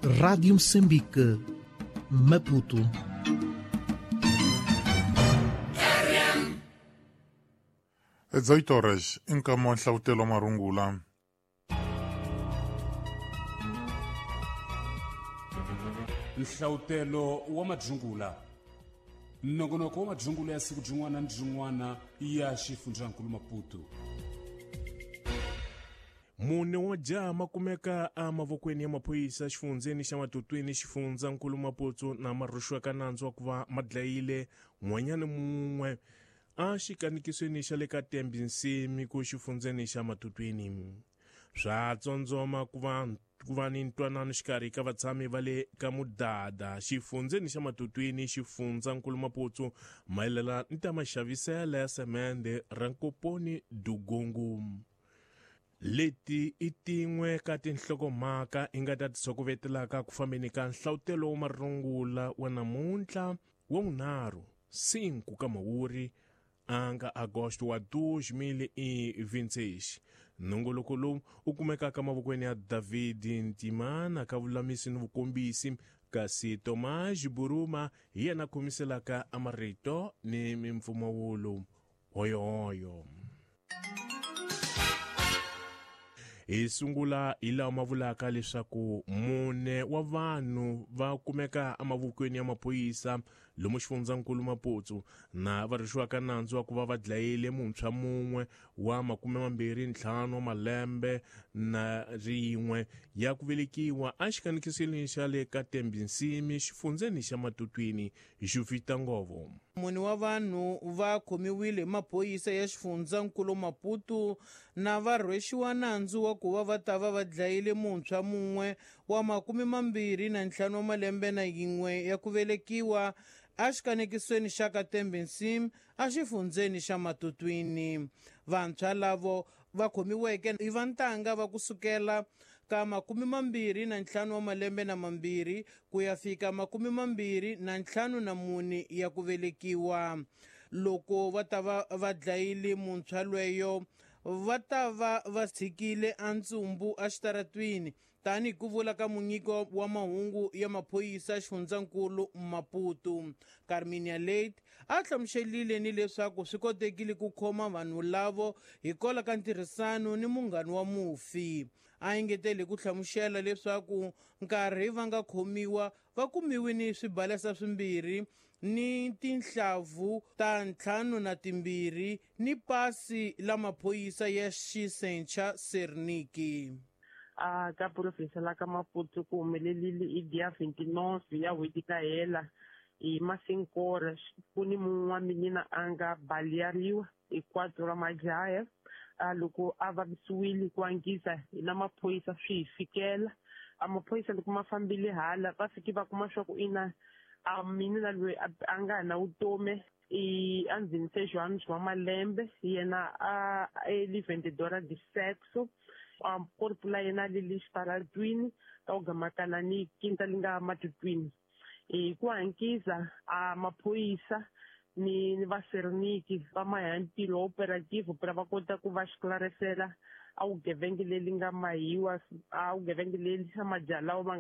Rádio Moçambique, Maputo. 18 horas em Camões, Nhlavutelo Marungula. Nhlavutelo wa Madzungula. Nongonoko wa Madzungula ya siku byin'wana ni byin'wana ya xifundzankulu Maputo. Mune wa jaha makumeka emavokweni ya maphorisa xifundzeni xa Matutwini xifundzankulu Maputo na marhuxiwaka nandzu wa ku va ma dlayile n'wanyana mun'we a xikanikisweni xa le ka Tembi Nsimi ku xifundzeni xa Matutwini. Swa tsondzoma ku va ni ntwanano xikarhi ka vatshami va le ka Mudada xifundzeni xa Matutwini xifundzankulu Maputo mayelana ni ta maxaviselo ya semende ra Nkoponi Dugungu. Leti i tin'we ka tinhlokomhaka i nga ta ti sokovetelaka ku fambeni ka nhlavutelo wa marungula wa namuntlha wa vunharhu 5 ka Mhawuri a nga Agosto wa 2026. Nongoloko lowu u kumekaka mavokweni ya David Ntimana ka vulamisi ni vukombisi, kasi Tomás Buruma hi yena khomiselaka amarito ni mimpfumawulo. Hoyohoyo. Hi sungula hi lawa ma vulaka leswaku mune wa vanhu va kumeka emavokweni ya maphorisa lomu xifundzankulu Maputo na va rhuxiwaka nandzu wa ku va va dlayile muntshwa mun'we wa 25 wa malembe na rin'we ya ku velekiwa exikanikisweni xa le ka Tembi Nsimi xifundzeni xa Matutwini Juvita Ngovo. Mune wa vanhu va khomiwile hi maphorisa ya xifundzankulu Maputo na va rhwexiwa nandzu wa ku va va ta va va dlayile muntshwa mun'we wa 25 wa malembe na yin'we ya ku velekiwa exikanekisweni xa ka Tembi Nsimi exifundzeni xa Matutwini. Vantshwa lavo va khomiweke i va ntanga va kusukela ka 25 wa malembe na mambirhi ku ya fika 24 ya ku velekiwa. Loko va ta va va dlayile muntshwa lweyo va ta va va tshikile antsumbu exitaratwini tanihi ku vula ka munyiki wa mahungu ya maphorisa xifundzankulu Maputo. Carminia Late a hlamuselile ni leswaku swi kotekile ku khoma vanhu lavo hikwalaho ka ntirhisano ni munghana wa mufi. A engetele ku hlamusela leswaku nkarhi va nga khomiwa va kumiwe ni swibalesa swimbirhi ni tinhlavu ta 52 ni pasi la maphorisa ya xisencha Serniki. A ka province la ka Maputo ku humelelile i dia 29 ya n'hweti ka hela hi masinkora ku ni mun'we wa minina a nga baleariwa hi 4 ra majaya. A loko a vavisiwile ku angisa hi na maphorisa swi hi fikela. A maphorisa loko ma fambile hala va fike va kuma swa ku ina a minina loyi a nga na vutomi i andzeni se Joanes wa malembe yena a eli vendedora de sexo. A corpo la yena li le xitaratwini ka ku gamakana ni quinta li nga Matutwini. Hi ku hankisa a maphorisa ni va Serniki va maya ntirho operative pra va kota ku va xiklarisela a vugevenga leri nga mahiwa a vugevenga leri a majaha lawa ma